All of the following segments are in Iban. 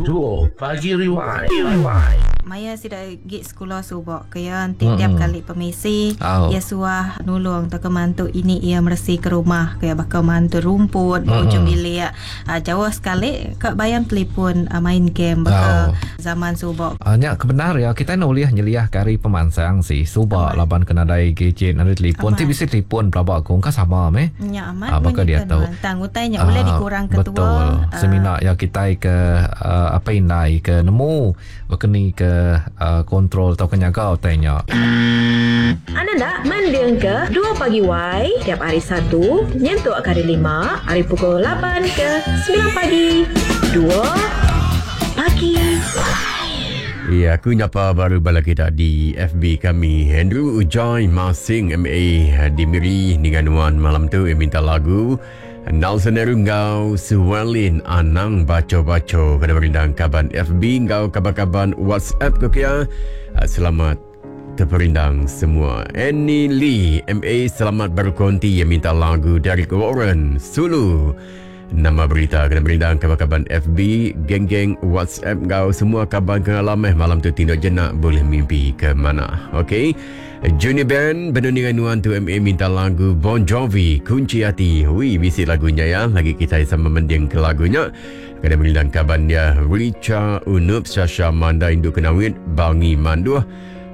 Dua Pagi Rewind. Rewind. Maya sida agi sekula suba ke iya enti tiap kali pemisi iya suah nulung tauka mantu ini iya meresi ke rumah ke iya baka mantu rumput ba ujung bilik jauh sekali ka bayam telipun main game baka zaman suba. Nya ke bendar iya kitai enda ulih nyeliahka ari pemansang si suba laban ke nadai gadget nadai telipun ti bisi telipun pelaba ku engka sama meh. Nya amat baka diatu. Tang utai nya ulih dikurangka tua. Betul. Semina iya kitai ke apai indai ke nemu Baka ni ke kontrol tauka nyaga utai nya. Anda enda mendingka Dua Pagi Wai tiap hari Satu nyentuk ke Hari Lima ari pukul lapan ke semilan pagi. Dua Pagi Wai. Ya, aku nyapa baru bala kita di FB kami. Andrew Ujai Masing MA di Miri ninga nuan malam tu minta lagu. Nelson Eru enggau Suwalin anang bacho-bacho kena merindang kaban FB enggau kaban-kaban WhatsApp ke kia. Ah, selamat terperindang semua. Annie Lee MA selamat berkonti yang minta lagu dari Warren Sulu. Nama berita kena merindang kaban-kaban FB, geng-geng WhatsApp enggau semua kaban ke ngalam eh malam tu tinduk jenak boleh mimpi ke mana. Okey. Junior Band benung ninga nuan tu MA minta lagu Bon Jovi Kunci Ati. Ui bisi lagu nya ya. Lagi kitai sama mending ke lagu nya. Kena merindang kaban dia Richa Unup Sasha Manda Indu Kenawit Bangi Manduh.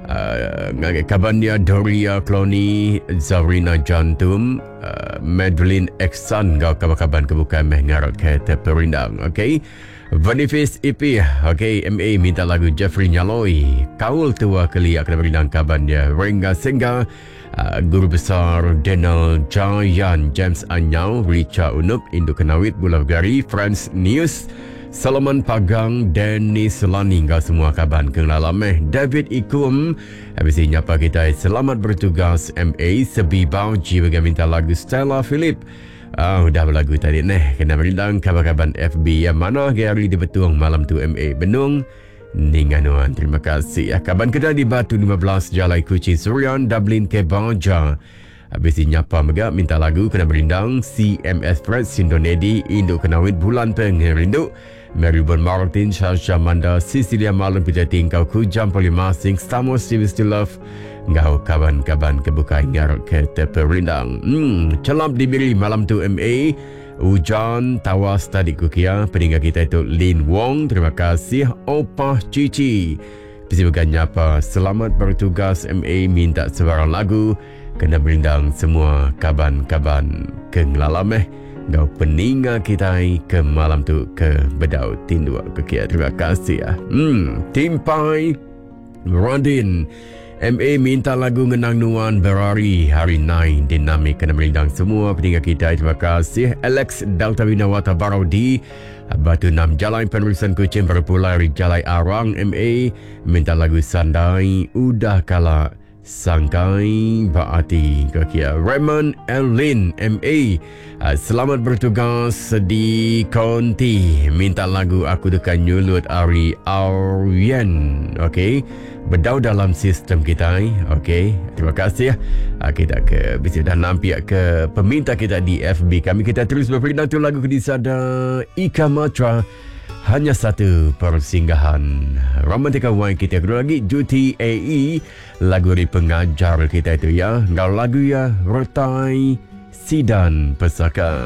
Uh, ngagai kaban dia Doria Cloni Zarina Jantum uh, Madeline Exan enggau kaban-kaban ke bukai meh ngarap ke terperindang. Okay. Boniface EP Ok MA minta lagu Jeffrey Nyaloi Kaul Tua Kelia kena merindang kaban dia Rengga Sengga uh, Guru Besar Daniel Jayan James Anyau Richa Unup Indu Kenawit Bulau Gari France News Solomon Pagang Dennis Lani enggau semua kaban ke ngelala meh David Ikum Habis nyapa kita selamat bertugas MA Sebi Bauji bagi minta lagu Stella Philip Ah, udah belagu tadi neh. Kena merindang kaban-kaban FB yang mana ke hari di Betung malam tu MA Benung. Ninga nuan. Terima kasih. Ya, kaban kita di Batu 15 Jalai Kuching Surian Dublin ke Baja. Habis nyapa mega minta lagu kena merindang CMS Fred Sindonedi Induk Kenawit Bulan Pengerindu Mary Bon Martin Shasha Manda Cecilia Malun Pejai Tingkau Kujam Polimasing Stamos Steve Still Love Enggau kaban-kaban ke bukai ngarap ke teperindang. Hmm, celap diberi malam tu MA. Ujan tawas tadi ku kia peninga kita itu Lin Wong. Terima kasih Opah Cici. Bisi mega nyapa selamat bertugas MA minta sebarang lagu kena merindang semua kaban-kaban ke ngelala meh enggau peninga kitai ke malam tu ke bedau tinduk ke kia. Terima kasih. Hmm, timpai Radin MA minta lagu ngenang nuan berari hari nai dinamik kena merindang semua peninga kita. Terima kasih Alex Delta Winawata Barau di Batu Enam Jalai Penerusan Kuching baru pulai ari Jalai Arang MA minta lagu Sandai Udah Kala Sangkai ba ati ke kia Raymond Erlin MA ah, selamat bertugas di Konti minta lagu aku deka nyulut ari Aryan okey bedau dalam sistem kitai okey terima kasih ah, kita ke bisi dah nampiak ke peminta kita di FB kami kita terus berperindang tu lagu ke disada Ika Matra hanya satu persinggahan. Romantika Wine kita kedua lagi Juti AE lagu dari pengajar kita itu ya. Enggau lagu ya Retai Sidan Pesaka.